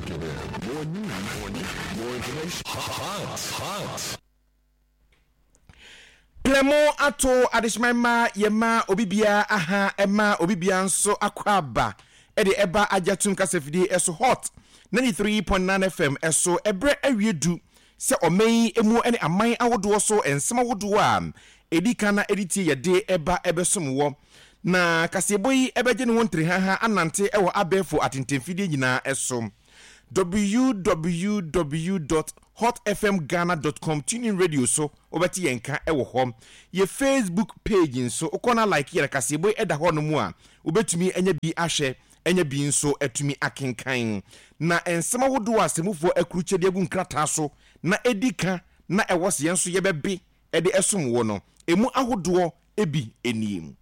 More news, more news, more information. Hot, hot. Plɛmo ato adehyeman ma yɛma obi biara aha ɛma obi biara nso akɔ aba ɛde ɛba agyatum kasafidie ɛso Hot 93.9 FM ɛso. Ɛberɛ awie du sɛ ɔman yi emu ne aman ahodoɔ so nsɛm ahodoɔ a ɛdi kan na ɛde tie yɛde ɛba ɛbɛsom wɔ. Na kaseɛbɔ yi ɛbɛgye ne ho nterehaha anante ɛwɔ abɛɛfo atentamfidie nyinaa ɛso. www.hotfmghana.com tuning radio so wobɛte yɛn ka ɛwɔ hɔ. Yɛ Facebook page nso wokɔ na like yɛ kaseɛbɔ yi ɛda hɔ no mu a, wobɛtumi anya bi ahwɛ, anya bi nso atumi akenkan. Na nsɛm ahodoɔ a sɛmufoɔ akurukyɛ de agu nkrataa so na ɛdi ka na ɛwɔ sɛ yɛn nso yɛbɛbe ɛde ɛsom wɔ no, emu ahodoɔ ebi nie.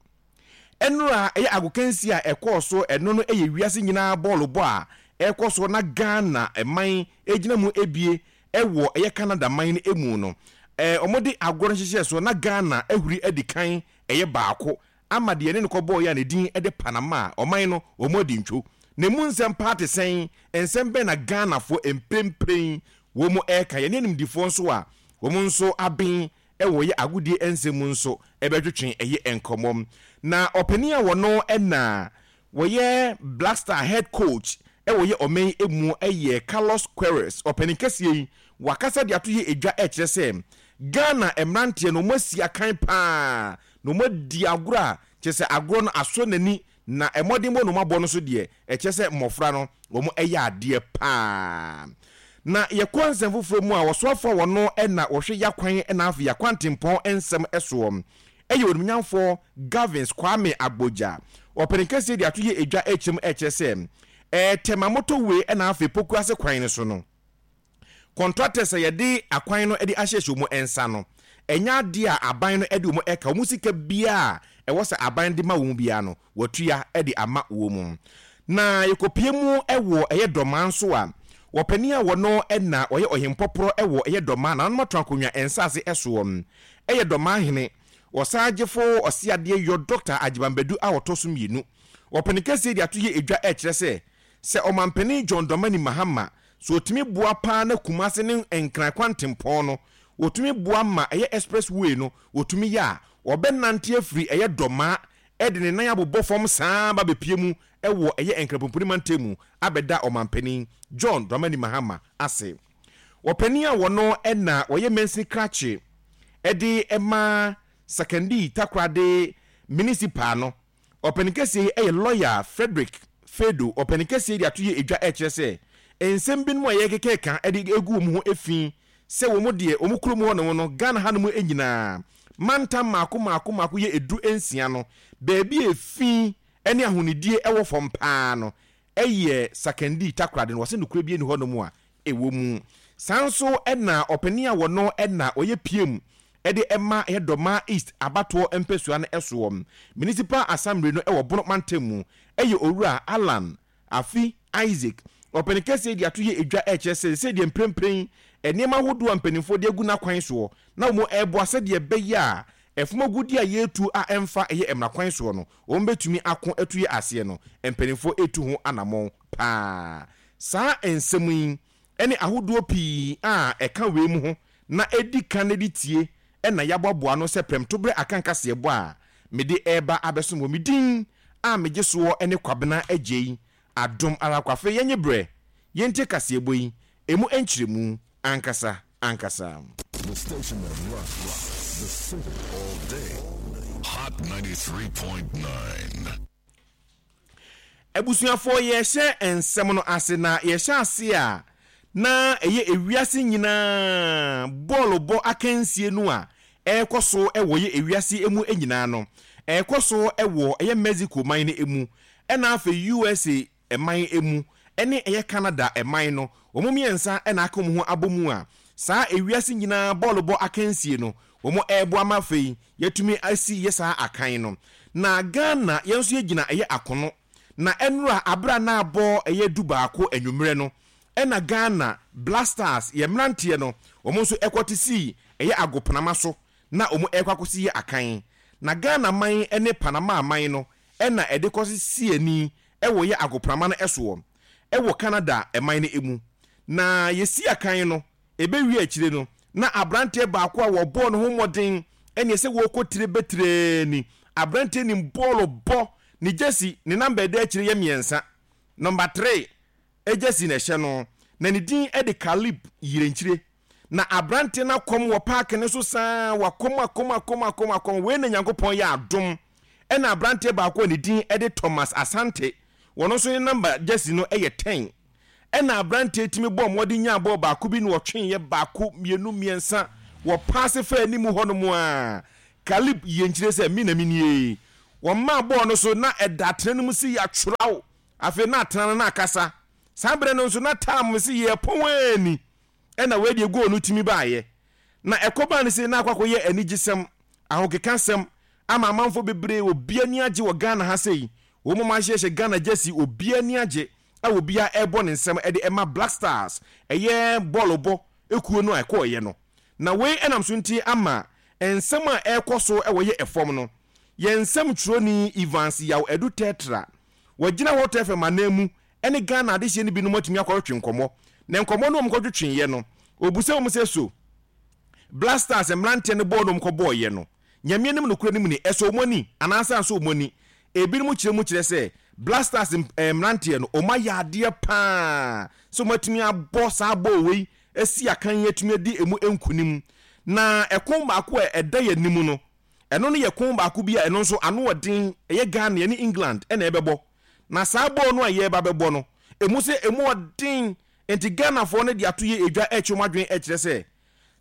Ɛnora ɛyɛ agokansi a ɛkɔɔ so, ɛno no ɛyɛ wiase nyinaa bɔɔlo bɔ a ɛkɔ so na Ghana man egyina mu ebie ɛwɔ ɛyɛ Canada man no emu no. Wɔde agorɔ no hyehyɛ so na Ghana ahuri adi kan ɛyɛ baako ama deɛ ne no kɔbɔɔ yɛ a ne din ɛde Panama a ɔman no wɔn adi ntwo. Na emu nsɛm paa te sɛn? Nsɛm bɛn na Ghanafoɔ mprempren wɔn ɛreka? Yɛne animdifoɔ nso a wɔn nso aben ɛwɔ yɛ agodie nsɛm mu nso ɛbɛtwetwe ɛyɛ nkɔmmɔ. Na ɔpanin a wɔno ɛna wɔyɛ Black Star head coach ɛwɔ yɛ ɔman emu ɛyɛ Carlos Queiroz. Ɔpanin kɛseɛ yi wakasa de ato yɛ edwa ɛkyerɛ sɛ Ghana mmeranteɛ no wɔn asi akan paa na wɔn adi agorɔ a kyerɛ sɛ agorɔ no asɔ n'ani, na mmɔdenbɔ na wɔn abɔ no so deɛ ɛkyerɛ sɛ mmɔfra no wɔn ɛyɛ adeɛ paa. Na yɛkɔ nsɛm foforɔ mu a, wɔsoafoɔ a wɔno ɛna wɔhwɛ yakwan ɛna afei yakwantempɔn nsɛm ɛsoɔ ɛyɛ onimnyamfoɔ Gavins Kwame Agbodza. Ɔpanin kɛseɛ de ato yɛ edwa ɛkyerɛ mu ɛkyerɛ sɛ Tema motorway ɛna afei Pokuase kwan no so no, contractors a yɛde akwan no de ahyehyɛ wɔn nsa no, ɛnyɛ adeɛ a aban no de wɔn ɛka. Wɔn sika biara a ɛwɔ sɛ aban de ma wɔn biara no, wɔatua de ama wɔn. Na yɛkɔpie mu wɔ ɛyɛ Dɔmaa nso a, wɔpanin a wɔno na ɔyɛ ɔhempɔporɔ wɔ ɛyɛ Dɔmaa nananom ato akonnwa nsaase soɔ ɛyɛ Dɔmaa hene, ɔsaagyefo ɔseadeɛ yɔ Dɔkta Agyeman Badu a ɔtɔ so mmienu. Wɔpanin kɛseɛ de ato yɛ edwa ɛkyerɛ sɛ, sɛ ɔmampanin John Dramani Mahama so ɔtumi boa paa na Kumase ne Nkran kwantempɔn no wɔtumi boa ma ɛyɛ express way no wɔtumi yɛ a, ɔbɛnante afiri ɛyɛ Dɔmaa ɛde ne nan abobɔ fam saa ba bɛpie mu ɛwɔ ɛyɛ Nkrapomponi mantam mu abɛda ɔmampanin John Dramani Mahama ase. Ɔpanin a wɔno ɛna ɔyɛ mansini krakye ɛde ɛma Sakandii Takoradi Municipal no, ɔpanin kɛseɛ yi ɛyɛ lɔya Frederick Fedo. Ɔpanin kɛseɛ yi de ato yɛ edwa ɛkyerɛ sɛ nsɛm binom a yɛkekeka ɛde egu wɔn ho efi sɛ wɔn deɛ wɔn kurom hɔ nom no, Ghana hanom nyinaa mantam maako maako maako yɛ 16 no, baabi a efi ne ahonidie ɛwɔ fam paa no ɛyɛ Sakandii Takoradi no. Wɔsɛ nokorɛ bi nni hɔ nom a ɛwɔ mu. Saa nso ɛna ɔpanin a wɔno ɛna ɔyɛ PM ɛde ɛma ɛyɛ Dɔmaa East abatoɔ mpɛsua no ɛsoɔ Municipal Assembly no ɛwɔ Bono mantam mu ɛyɛ Owura Alan Afi Isaac. Ɔpanin kɛseɛ de ato yɛ edwa ɛkyerɛ sɛ sɛdeɛ mprempren nneɛma ahodoɔ a mpanimfoɔ de agu n'akwan soɔ na wɔn ɛreboa sɛdeɛ ɛbɛyɛ a ɛfom agudeɛ a yɛretu a ɛmfa ɛyɛ mmara kwan soɔ no wɔn bɛtumi ako atu yɛ aseɛ no, mpanimfoɔ ɛretu ho anammɔn paa. Saa nsɛm yi ɛne ahodoɔ pii a ɛka wei mu ho na ɛdi kan de tie ɛna yɛaboaboa no sɛ prɛmtoberɛ akankaseɛbɔ a mede ɛreba abɛsom wɔ me din a megye soɔ ne Kwabena Agyei Adom ara kwa. Afei yɛnye berɛ yɛntie kaseɛbɔ yi emu nkyerɛmu ankasa ankasa. The station that rocks the city all day. Hot 93.9. Abusuafoɔ, yɛhyɛ nsɛm no ase na yɛhyɛ ase a na ɛyɛ ewiase nyinaa bɔɔlo bɔ akansie no a ɛrekɔ so wɔ yɛ ewiase emu nyinaa no, ɛrekɔ so wɔ ɛyɛ Mexico man no emu, ɛna afei USA man emu, ɛne ɛyɛ Canada man no, wɔn mmiɛnsa ɛna aka wɔn ho abɔ mu a saa ewiase nyinaa bɔɔlo bɔ akansie no wɔn ɛreboa ma afei yɛtumi asi yɛ saa akan no. Na Ghana yɛn nso yɛgyina ɛyɛ akono na ɛnora abera na abɔ ɛyɛ 11 anwummerɛ no ɛna Ghana Black Stars yɛ mmeranteɛ no wɔn nso ɛkɔte sii ɛyɛ agoprama so na wɔn ɛrekɔ akɔsi yɛ akan. Na Ghana man ne Panama man no ɛna ɛde kɔsi si ani ɛwɔ yɛ agoprama no ɛsoɔ. wɔ Canada man no mu. Na yɛsi akan no, ɛbɛwie akyire no, na aberanteɛ baako a wɔbɔɔ ne ho mmɔden ɛneɛ sɛ wɔrekɔ tire bɛtirɛ ni. Aberanteɛ nim bɔɔlo bɔ, ne gyesi, ne namba ɛda akyire yɛ mmiɛnsa. Nɔmba three gyesi na ɛhyɛ no, na ne din de Caleb Yirenkyire. Na aberanteɛ no akɔm wɔ paake no so saa, wakɔm akɔm akɔm akɔm akɔm. Wei na Nyankopɔn yɛ adom. Ɛna aberanteɛ baako a ne din de Thomas Asante, wɔn nso ne namba gyesi no yɛ ten. Ɛna aberanteɛ tumi bɔɔ mmɔden nyaa bɔɔl baako bi na ɔtweeɛ baako, mmienu, mmiɛnsa, wɔpaase faa anim hɔnom a, Caleb yie nkyerɛ sɛ me na menie. Wɔmaa bɔɔl no so na ɛda atena no mu se yɛatwerɛw. Afei na atena no na akasa. Saa berɛ no nso na tam se yɛpɔn ani. Ɛna wei deɛ goal no tumi baeɛ. Na ɛkɔbaa no sei na akɔ akɔyɛ anigyesɛm, ahokekasɛm ama amanfoɔ bebree, obiara ani agye wɔ Ghana ha sei. Wɔn a wɔahyehyɛ Ghana jersey, obiara ani agye a obiara ɛrebɔ ne nsam de ɛma Black Stars, ɛyɛ bɔɔlobɔ kuo no a ɛkɔeɛ no. Na wei ɛnam so nti ama nsɛm a ɛrekɔ so wɔ yɛ ɛfam no, yɛn nsɛmtwerɛni Evans Yaw Adu Tertra, wagyina Hot FM ananmu ne Ghana adehyeɛ no binom atumi akɔtwetwe nkɔmmɔ. Na nkɔmmɔ no a wɔkɔtwetweeɛ no, ɔbisa wɔn sɛ so Black Stars mmeranteɛ no bɔɔl no wɔkɔbɔeɛ no, Nyame anim nokorɛ no mu ni, ɛsɔ wɔn ani anaasɛ ansɔ wɔn ani? Ebinom kyerɛ mu kyerɛ sɛ Black Stars mmeranteɛ no, wɔayɛ adeɛ pa ara sɛ wɔatumi abɔ saa bɔɔl wei asi akan yi atumi adi ɛmu nkunim. Na ɛko baako a ɛda yɛn anim no, ɛno no yɛ ko baako bi a ɛno nso ano ɔden, ɛyɛ Ghana, yɛne England na ɛbɛbɔ. Na saa bɔɔl no a yɛreba bɛbɔ no, ɛmu sɛ ɛmu ɔden, nti Ghanafoɔ no de ato yɛ edwa ɛretwe wɔn adwene ɛkyerɛ sɛ,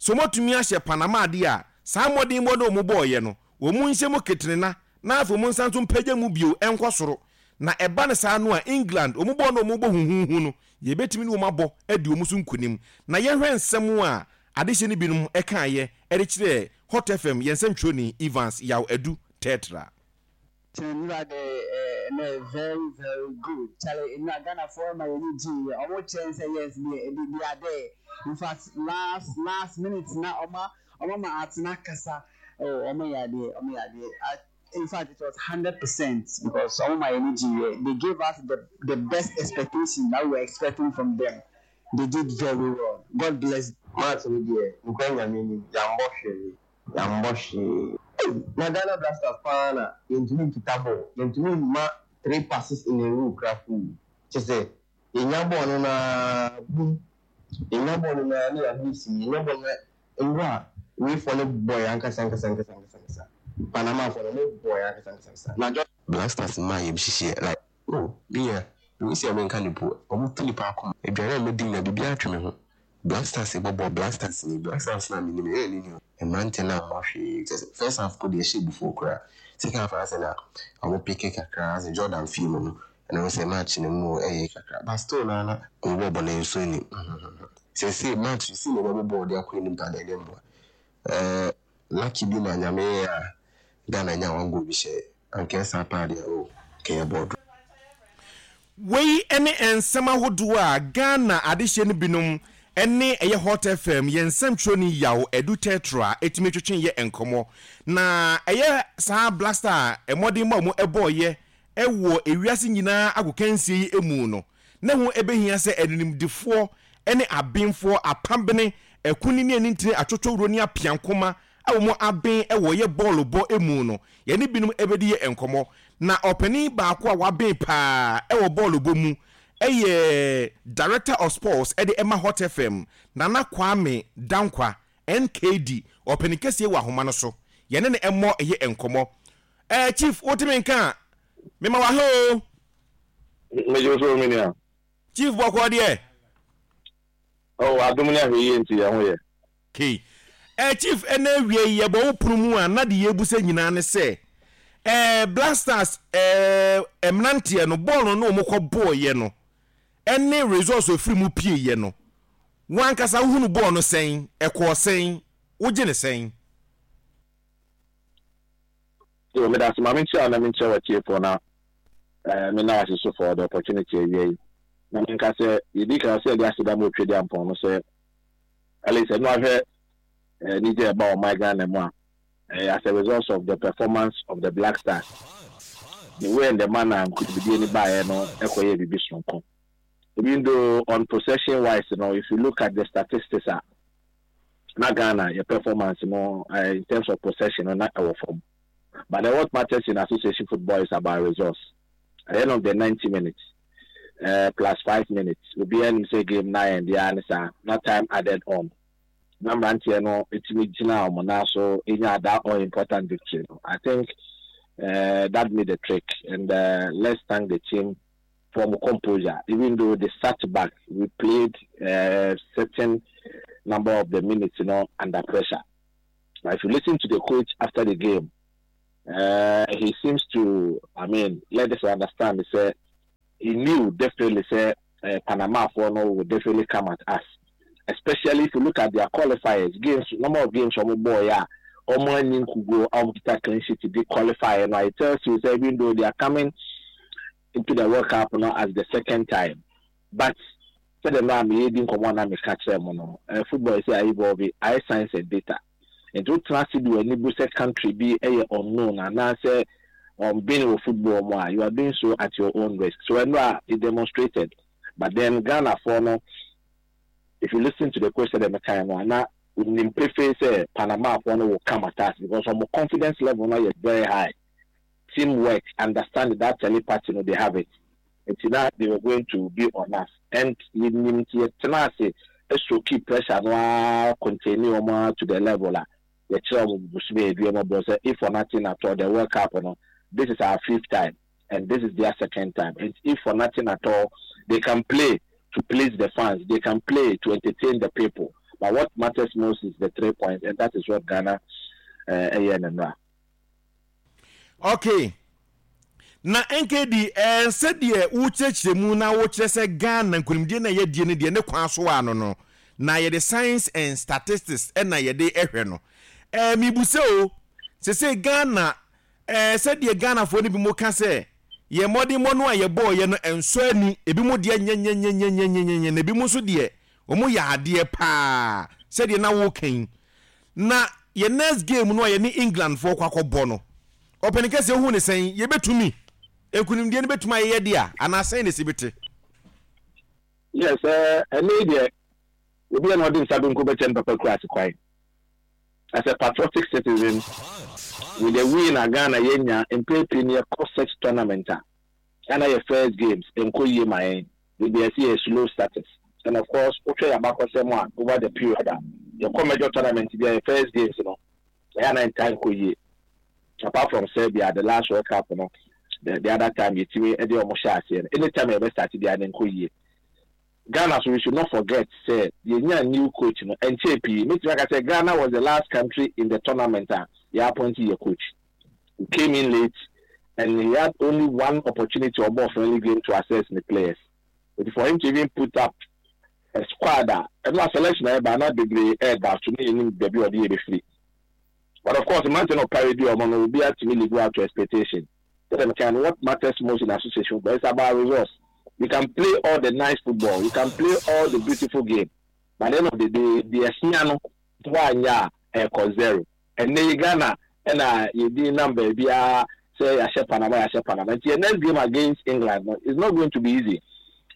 sɛ wɔatumi ahyɛ Panama adeɛ a, saa mmɔdenbɔ no a wɔbɔeɛ no, wɔn nhyɛ mu ketenena na afei wɔn nsan nso mpagya mu bio nkɔ soro. Na ɛba no saa no a, England, wɔn bɔɔl no a wɔbɔ huhuuhu no, yɛbɛtumi ne wɔn abɔ adi wɔn so nkunim. Na yɛnhwɛ nsɛm a adehyeɛ no binom kaeɛ de kyerɛɛ Hot FM yɛn nsɛmtwerɛni Evans Yaw Adu Tertra. Kyɛ nnura de eh ɛnɛ very very good chale nnura Ghana foɔ ma yɛni gyee yɛ ɔmo kyɛn sɛ yes deɛ they they are there infact last last minute na ɔma ɔmo ama atena kasa oh ɔmo yɛ adeɛ ɔmo yɛ adeɛ I infact it was 100% because ɔmo ma yɛni gyee yɛ they gave us the the best expectation that we were expecting from them they did very well God bless Match no deɛ nokorɛ Nyame anim yɛambɔ hwee. Yɛambɔ hwee. Ei! Na Ghana Black Stars paa na yɛntumi nkita bɔɔl, yɛntumi mma three passes in a row koraa fuu. Kyerɛ sɛ yɛnya bɔɔl no no ara bum, yɛnya bɔɔl no no ara na yɛabɔ asim, yɛnya bɔɔl no ara mmerɛ a weifoɔ no bɔɔ yɛn ankasa ankasa ankasa ankasa ankasa. Panamafoɔ no wɔbɔɔ yɛn ankasa ankasa ankasa. Na Jordan. Black Stars mmaa yɛm hyehyeɛ like oh me nua mehu sɛ menka no po ɔmo tu nipa akoma aduane a mɛdi nyinaa biribiara twe me ho Black Stars bɔ bɔɔl Black Stars ni Black Stars no a menim no ɛyɛ ne ni o mmeranteɛ no ammɔ hwee kyerɛ sɛ first half po deɛ ɛhyɛ abufuo koraa second half asɛ na ɔmo peke kakra asɛ Jordan fii mu no ɛna wohu sɛ match no mu ɛyɛ kakra but still naa na ɔmo bɔɔ bɔne nso nni seesei match seesei na yɛbɛbɔ bɔɔl de akɔ anim paa deɛ ɛnyɛ mmoa ɛɛ Lucky bi na Nyame yɛ a Ghana nya one goal bi hyɛɛ anka ɛsaa paa deɛ oh nka yɛbɔɔ draw. Wei ne nsɛm ahodoɔ a Ghana adehyeɛ no binom ne ɛyɛ Hot FM yɛn nsɛmtwerɛni Yaw Adu Tertra tumi twetwe yɛ nkɔmmɔ. Na ɛyɛ saa Black Star mmɔdenbɔ a wɔbɔeɛ wɔ ewiase nyinaa agokansie yi mu no, na ɛho bɛhia sɛ animdefoɔ ne abenfoɔ, apabene, akunini ne anintini, atwotwowuro ne apeankoma a wɔn aben wɔ yɛ bɔɔlobɔ mu no, yɛne binom bɛdi yɛ nkɔmmɔ. Na ɔpanin baako a waben paa wɔ bɔɔlobɔ mu yɛ Director of Sports de ma Hot FM, Nana Kwame Dankwa, NKD, ɔpanin kɛseɛ wɔ ahoma no so. Yɛne no mmɔ yɛ nkɔmmɔ. Eh, Chief, wote me nka a? Mema wo aha o. Megye wo so, me nua. Chief bɔkɔɔ deɛ? Oh, adom ne ahwɛyie nti yɛn ho yɛ. Kay. Eh, Chief, ɛnɛ awia yi yɛbɔ wo pono mu a na deɛ yɛrebusa nyinaa ne sɛ, eh, Black Stars eh, mmeranteɛ no, bɔɔl no ne wɔn kɔ bɔɔyɛ no, ɛne results a ɛfiri mu pieeɛ no, wo ankasa wohunu bɔɔl no sɛn, ɛkɔɔ sɛn, wogye no sɛn? Yo, meda ase. Ma menkyia wo na menkyia w'atiefoɔ na eh, menna wo ase so for the opportunity awia yi. Na menka sɛ, yɛdi kan sɛ yɛde aseda ma Otwedeampɔn no sɛ at least ɛno ahwɛ eh, anigye a ɛba ɔman Ghana mu a eh, as a result of the performance of the Black Stars, the way and the manner a nkonimdie no baeɛ no ɛkɔyɛɛ biribi soronko. Even though on possession wise no, if you look at the statistics a, na Ghana yɛ performance no in terms of possession no na ɛwɔ fam. But then what matters in association football is about results. At the end of the 90 minutes plus 5 minutes, obiara nim sɛ game na yɛn deɛ ne saa na time added on. Na mmeranteɛ no etumi gyina wɔn nan so enya that all important victory no. I think that made the trick, and let's thank the team for composure. Even though they sat back, we played certain number of the minutes under pressure. Now, if you listen to the coach after the game, he seems to, I mean, let us understand. He said he knew definitely sɛ Panama foɔ no will definitely come at us. Especially if you look at their qualifiers, games, number of games ɔmo bɔɔ yeah, ɔmo ani nkugo, ɔmo kita clean sheet to qualify. And it tells you sɛ even though they are coming into the World Cup no as the second time, but sɛdeɛ no a meyɛ di nkɔmmɔ na meka kyerɛ mu no, football sɛ ayɛ evolve, ayɛ science and data. Nti wotena ase de w'ani bu sɛ country bi yɛ unknown anaasɛ ɔmbɛn wɔ football mu a, you are doing so at your own risk. So ɛno a it demonstrated. But then Ghana foɔ no, if you listen to the coach, sɛdeɛ meka no, ana onim pefee sɛ Panama foɔ no will come at us because ɔmo confidence level no yɛ very high. Teamwork, understanding, that telepathy no, they have it. Nti na they were going to be on us and yɛnim, nti yɛtena ase ɛsoki pressure no ara, contain wɔn ara to the level a yɛkyerɛ wɔn busumi edu wɔn bɔ sɛ if for nothing at all, the World Cup no, this is our fifth time and this is their second time, and if for nothing at all, they can play to please the fans, they can play to entertain the people, but what matters most is the three points, and that is what Ghana ɛyɛ no nra. Okay, na nkd sɛdeɛ wokyerɛkyerɛ mu na wokyerɛ sɛ Ghana nkonimdie na yɛdie no deɛ ne kwan so ano no na yɛde science and statistics ɛna yɛde ɛhwɛ no, mibu sɛ o sese Ghana, sɛdeɛ Ghanafoɔ no bi mo ka sɛ yɛn mmɔdenmmɔ no a yɛbɔɔyɛ no ɛnsɔ ani, ebi mo deɛ nyɛnyɛnyɛnyɛnyɛnyɛ, na ebi mo nso deɛ wɔn yɛ adeɛ paa sɛdeɛ na wɔka na yɛn next game no a yɛne England foɔ kɔ akɔbɔ no, ɔpɛni kɛseɛ hu ne sɛn, yɛbɛtumi nkunimdie no bɛtumi ayɛyɛ deɛ a anaasɛn na esi bi te? Yes, ɛne deɛ obi a na ɔde nsa benkum bɛkyɛ no papa kura ase kwan. As a patriotic citizen, with the win a Ghana yɛnya mpɛn pii no, yɛkɔ such tournament a ɛna yɛ first games nkɔ yie ma yɛn beebi a yɛsi yɛ slow starters. And of course, wohwɛ yɛ abakɔsɛm a, over the period a yɛkɔ major tournament bi a, yɛ first games no ɛyɛ anan ntaa nkɔ yie, apart from Serbia, the last World Cup no, the other time yɛtumi de ɔmo hyɛ aseɛ no. Anytime yɛbɛ start biara ne nkɔ yie Ghana. So we should not forget sɛ yɛnya new coach no ɛnkyɛn pii. Mɛtumi aka sɛ Ghana was the last country in the tournament a yɛ appoint yɛ coach who came in late, and he had only one opportunity, ɔbɔ friendly game, to assess the players. But for him to even put up a squad a ɛno a selection a ɛba na bebree ɛɛda so ne yɛnim baabi a ɔde yɛ bɛfiri. But of course, mmerante no ɔpare di ɔmo no, obi atumi live up to expectation. Sɛdeɛ meka no, what matters most in association football is about results. You can play all the nice football, you can play all the beautiful game, but at the end of the day, deɛ ɛhia no woanyɛ a, ɛkɔ zero. Ɛnɛ yi Ghana ɛna yɛdi nam baabiara sɛ yɛahyɛ Panama, yɛahyɛ Panama. Nti yɛ next game against England no is not going to be easy.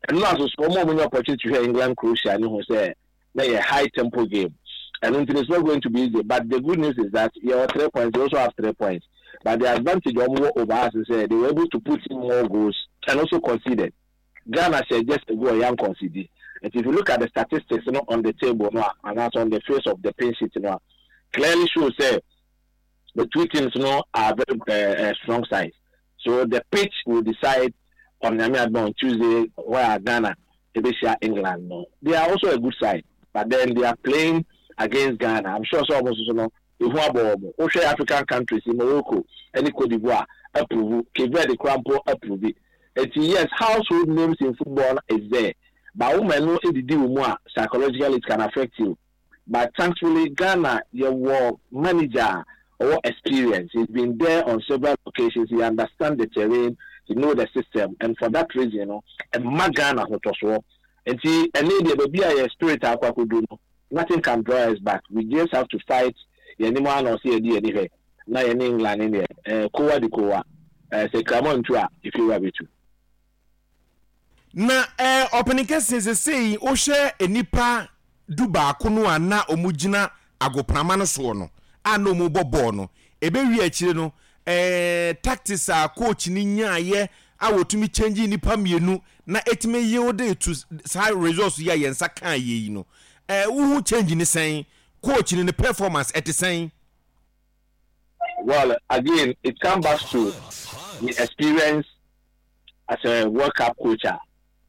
Ɛno aso so wɔn a wɔnya opportunity hwɛ England Croatia ne ho sɛ na yɛ high tempo game. Ɛno nti it's not going to be easy, but the good news is that yɛwɔ three points, they also have three points, but the advantage wɔn wɔ over us is sɛ they were able to put in more goals and also conceded. Ghana hyɛ just a goal, yan concede. And if you look at the statistics on the table no, and also on the face of the pink sheet no, clearly shows sɛ the two teams are very strong sides. So the pitch will decide on Nyame adom on Tuesday where Ghana ɛbɛhyia England no. They are also a good side, but then they are playing against Ghana. I'm sure so almost no ehu abɔ wɔn. Wohwɛ African countries, Morocco ɛne Cote d'Ivoire approve, Cape Verde koraa mpo approve. Eti yes, household names in football is there, but woman no edidi wɔn mu a, psychologically it can affect you. But thankfully, Ghana yɛwɔ manager a ɔwɔ experience. He's been there on several occasions, he understand the terrain, he know the system, and for that reason no, ɛma Ghana hotɔsoɔ. Nti ɛne deɛ baabi a yɛ spirit akɔ akɔdu no, nothing can draw us back. We just have to fight. Yɛn anim ara na ɔsɛ yɛde yɛn ani hwɛ na yɛne England ne deɛ kowa de kowa, sɛ kramo ntu a, efi wura bɛtu. Na eh, ɔpanin kɛseɛ sesei wohwɛ nnipa du baako no a na wɔn gyina agoprama no soɔ no a na wɔn bɔ bɔɔl no, ɛbɛwie akyire no eh, tactics a coach no nyaayɛ a wɔtumi change nnipa mmienu na ɛtumi yield to saa results yi a yɛn nsa kaa yɛ yi no, eh, wohu change ne sɛn? Coach no ne performance ɛte sɛn? Well, again, it comes back to the experience as a World Cup coach a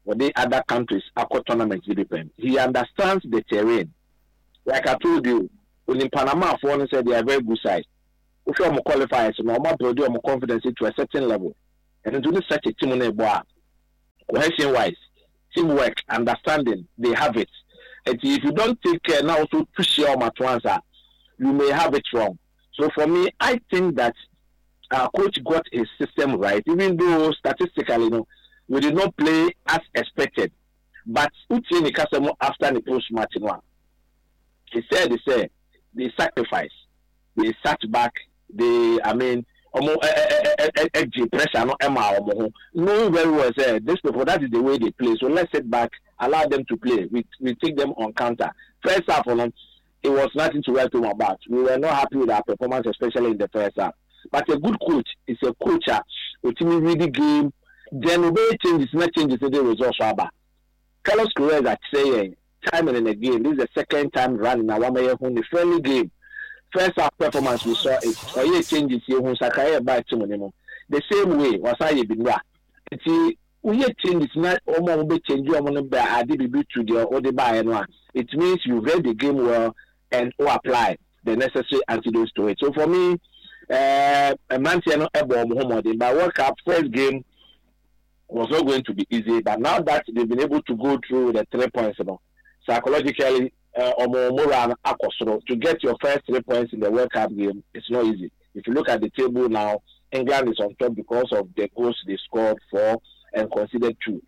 wɔde other countries akɔ tournament no bi pɛn. He understands the terrain. Like I told you, onim Panamafoɔ no sɛ they are very good side. Wohwɛ wɔn qualifiers no, wɔn abuild wɔn confidence to a certain level. Ɛno nti wo ne such a team no rebɔ a, cohesion wise, teamwork, understanding, they have it. Nti if you don't take care na wo nso tu hyia wɔn at once a, you may have it wrong. So for me, I think that our coach got his system right, even though statistically no, we did not play as expected. But wotie ne kasa mu after ne post match no a, he said sɛ they sacrifice, they sat back, they, I mean, wɔn gye pressure no maa wɔn ho, knowing very well sɛ these people, that is the way they play, so let's sit back, allow them to play, we, we take them on counter. First half no, it was nothing to write home about. We were not happy with our performance, especially in the first half. But a good coach is a coach a otumi read the game, then obɛyɛ changes na changes no de results aba. Carlos Queiroz akyerɛ yɛn time and again, this is the second time running na wama yɛhu ne friendly game. First half performance we saw it, ɔyɛɛ changes yɛhu nsakraeɛ a ɛbaa team no mu. The same way, wasan ayɛ bi nnora. Nti woyɛ changes na wɔn a wɔbɛ change wɔn no bɛ ade biribi to deɛ wode baeɛ no a, it means you read the game well and wo apply the necessary antidotes to it. So for me, eh, mmeranteɛ no bɔ wɔn ho mmɔden, but World Cup first game was not going to be easy, but now that they've been able to go through with the 3 points no, psychologically wɔn morale no akɔ soro. To get your first 3 points in the World Cup game, it's not easy. If you look at the table now, England is on top because of the goals they scored, four, and conceded two.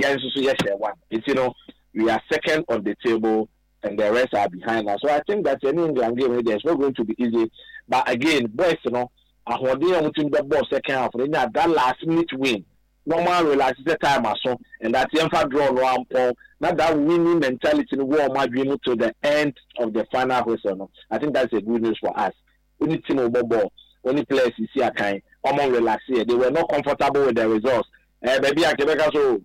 Yɛn nso so yɛhyɛ one. Nti no, we are second on the table and the rest are behind us. So I think that any England game there is not going to be easy. But again, boys no, ahoɔden a wɔtumi bɛbɔ second half no nya that last minute win. Normal relax sɛ time aso and that yɛmfa draw no ampɔn na that winning mentality no wɔ wɔn adwene mu till the end of the final whistle no. I think that's a good news for us. Only team wɔ bɔ, only players sisi akan, wɔn relax here. They were not comfortable with the results. Eh, baabi a kebɛka so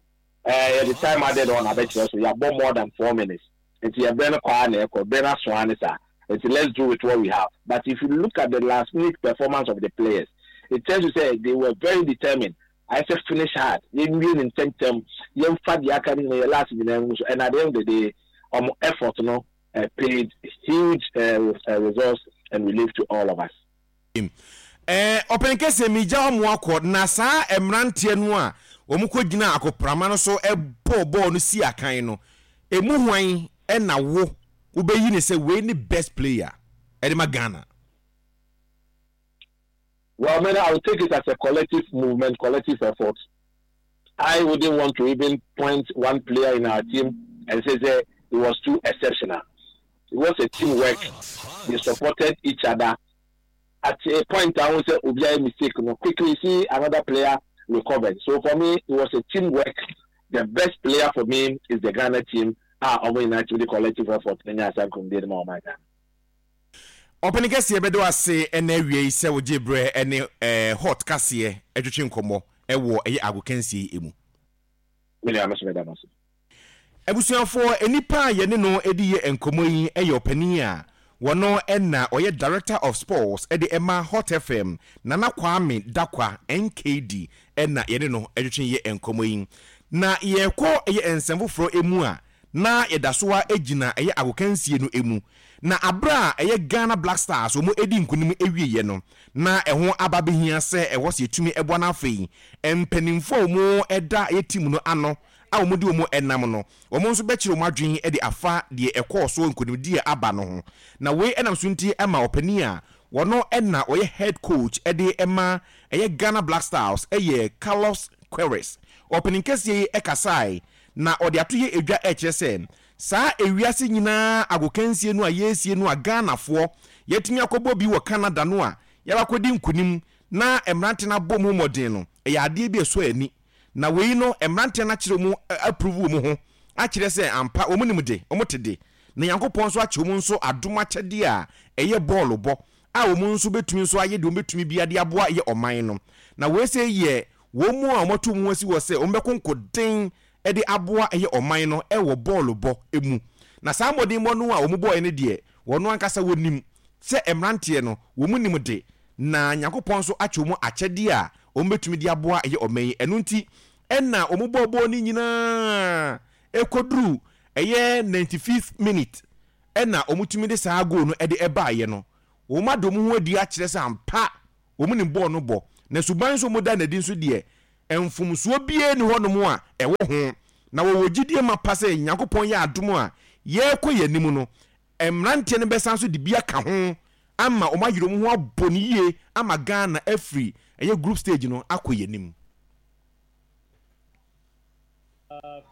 eh, yɛde time added on abɛkyerɛ so yɛabɔ more than 4 minutes. Nti yɛbrɛ no kɔ a na ɛkɔ, brɛ no aso ara ne saa. Nti let's do with what we have. But if you look at the last minute performance of the players, it tells you say they were very determined. I say finish hard. Yɛnwie ne ntɛmtɛm. Yɛmfa deɛ aka no nyinaa yɛ last nyinaa ngu so. And at the end of the day, ɔmo effort no paid huge results and relief to all of us. Ɔpɛn kɛseɛ megya wɔn akɔ na saa mmeranteɛ no a wɔn kɔ gyina akoprama no so bɔɔ bɔɔl no si akan no, emu hwan na wo wobɛyi ne sɛ wei ne best player ɛde ma Ghana? Well, man, I would take it as a collective movement, collective effort. I wouldn't want to even point one player in our team and say it was too exceptional. It was a teamwork. They supported each other. At a point, I won't say obiara mistake. No, quickly see another player recovered. So for me, it was a teamwork. The best player for me is the Ghana team. Ah, ɔmo nyinaa team the collective effort. Nenya asa nkonimdie de ma ɔman Ghana. Ɔpɛni kɛseɛ, bɛda wo ase ɛna awia yi sɛ wogye berɛ ɛne Hot kaseɛ ɛtwetwe nkɔmmɔ ɛwɔ ɛyɛ agokansie yi mu. Me nua, me nso meda mo ase. Abusuafoɔ, nnipa a yɛne no redi yɛ nkɔmmɔ yi yɛ ɔpanin a wɔno na ɔyɛ Director of Sports de ma Hot FM, Nana Kwame Dakwa, NKD, na yɛne no retwetwe yɛ nkɔmmɔ yi. Na yɛrekɔ yɛ nsɛm foforɔ mu a, na yɛda so ara gyina ɛyɛ agokansie no mu. Na aberɛ a ɛyɛ Ghana Black Stars wɔn redi nkunim awieɛ no, na ɛho aba abɛhia sɛ ɛwɔ sɛ yɛtumi boa na afei mpanimfoɔ a wɔda ɛyɛ team no ano a wɔde wɔn nam no, wɔn nso bɛkyerɛ wɔn adwene de afa deɛ ɛkɔɔ so nkonimdie a aba no ho. Na wei nam so nti ma ɔpanin a wɔno na ɔyɛ head coach de ma ɛyɛ Ghana Black Stars yɛ Carlos Queiroz. Ɔpanin kɛseɛ yi kasae na ɔde ato yɛ edwa rekyerɛ sɛ saa ewiase nyinaa agokansie no a yɛresie no a Ghanafoɔ yɛatumi akɔbɔ bi wɔ Canada no a yɛabakɔdi nkonim na mmerante no abɔ mu mmɔden no, ɛyɛ adeɛ bi a ɛsɔ ani. Na wei no mmeranteɛ no akyerɛ wɔn approve wɔn ho akyerɛ sɛ ampa wɔn nim de, wɔn te de. Na Nyankopɔn nso akyɛ wɔn nso adom akyɛdeɛ a ɛyɛ bɔɔlo bɔ a wɔn nso bɛtumi nso ayɛ deɛ wɔn bɛtumi biara de aboa yɛ ɔman no. Na wei sei yɛ wɔn a wɔato wɔn ho asi hɔ sɛ wɔn bɛko nkoden de aboa yɛ ɔman no wɔ bɔɔlo bɔ mu. Na saa mmɔdenbɔ no a wɔn bɔɔɛ no deɛ wɔn ankasa wɔnim sɛ mmeranteɛ no wɔn nim de, na Nyankopɔn nso akyɛ wɔn akyɛdeɛ a wɔn bɛtumi de aboa yɛ ɔman yi. Ɛno nti na wɔn bɔɔ bɔɔl no nyinaa ɛkɔduru ɛyɛ 95th minute ɛna wɔn tumi de saa goal no ɛde ɛbaeɛ no. Wɔn ada wɔn ho adi akyerɛ sɛ ampa wɔn nim bɔɔl no bɔ, na suban nso wɔn da no adi nso deɛ mfomsoɔ biara nni hɔnom a ɛwɔ ho, na wɔwɔ gyidie mapa sɛ Nyankopɔn yɛ adom a yɛrekɔ yɛn anim no, mmeranteɛ no bɛsan nso de bi aka ho ama wɔn ayere wɔn ho abɔ no yie ama Ghana afiri ɛyɛ group stage no akɔ yɛn anim.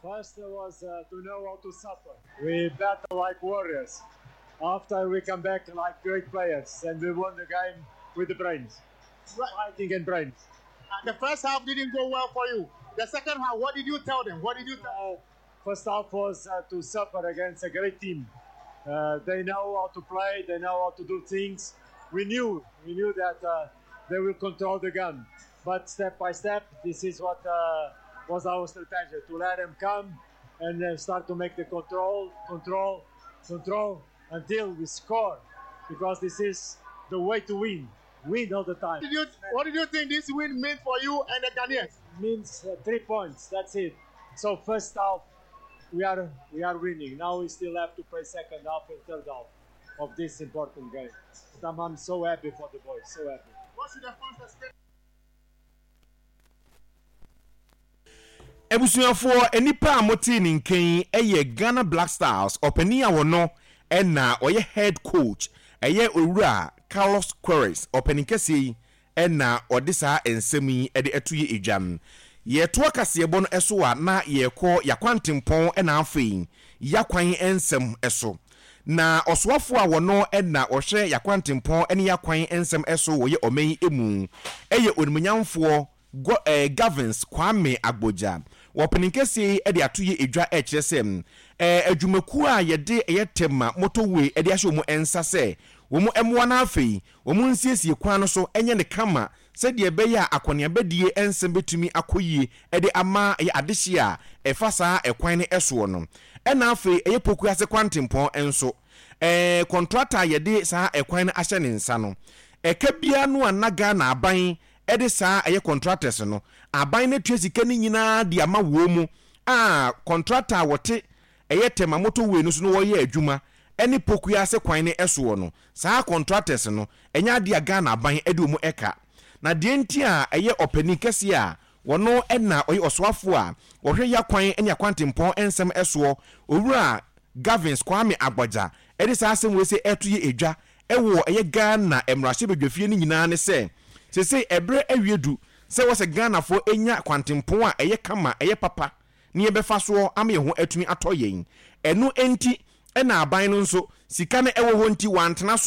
First was to know how to suffer. We battle like warriors. After we come back like great players and we won the game with the brains. Right. Fighting and brains. The first half didn't go well for you. The second half, what did you tell them? What did you tell First half was to suffer against a great team. They know how to play, they know how to do things. We knew that they will control the game. But step by step, this is what was our strategy, to let them come and then start to make the control, control, control until we score, because this is the way to win. Win all the time. What did you think this win meant for you and the Ghanaians? It means 3 points, that's it. So first half, we are winning. Now we still have to play second half and third half of this important game. But I'm so happy for the boys, so happy. What should the fans expect? Abusuafoɔ, nnipa a motee ne nka yi yɛ Ghana Black Stars ɔpanin a ɔno na ɔyɛ head coach, ɛyɛ Owura Carlos Queiroz. Ɔpanin kɛseɛ yi na ɔde saa nsɛm yi de ato yɛ dwa. Yɛtoa kaseɛbɔ no so a na yɛrekɔ y'akwantempɔn na afei y'akwan nsɛm so. Na ɔsoafoɔ a ɔno na ɔhwɛ y'akwantempɔn ne y'akwan nsɛm so wɔ yɛ ɔman yi mu yɛ Onimuonyamfoɔ Gavins Kwame Agbodza. Wɔ panin kɛseɛ yi de ato yɛ dwa rekyerɛ sɛ adwumakuo a yɛde ɛyɛ Tema motorway de ahyɛ wɔn nsa sɛ wɔn mmoa na afei wɔn nsiesie kwan no so nyɛ no kama sɛdeɛ ɛbɛyɛ a akɔneabadie nsɛm bɛtumi akɔ yie de ama ɛyɛ adehyeɛ a ɛfa saa ɛkwan no soɔ no. Ɛna afei ɛyɛ Pokuase kwantempɔn nso. Kɔntrata a yɛde saa ɛkwan no ahyɛ ne nsa no, ɛka biara no a na Ghana aban de saa ɛyɛ kɔntratɛs no, aban no atua sika no nyinaa de ama wɔn mu a kɔntrata a wɔte ɛyɛ Tema motorway no so no wɔyɛ adwuma ne Pokuase kwan no soɔ no, saa kɔntratɛs no, ɛnyɛ adeɛ a Ghana aban de wɔn ka. Na deɛ nti a ɛyɛ ɔpanin kɛseɛ a wɔno na ɔyɛ ɔsoafoɔ a ɔhwɛ yakwan ne akwantempɔn nsɛm soɔ, Owura Gavins Kwame Agbodza de saa asɛm wei sɛ ɛto yɛ dwa wɔ ɛyɛ Ghana mmarahyɛbadwafie no nyinaa ne sɛ, seesei ɛberɛ awie du sɛ ɛwɔ sɛ Ghanafoɔ nya kwantempɔn a ɛyɛ kama, ɛyɛ papa na yɛbɛfa soɔ ama yɛn ho atumi atɔ yɛn. Ɛno nti na aban no nso sika no wɔ hɔ nti wantena so.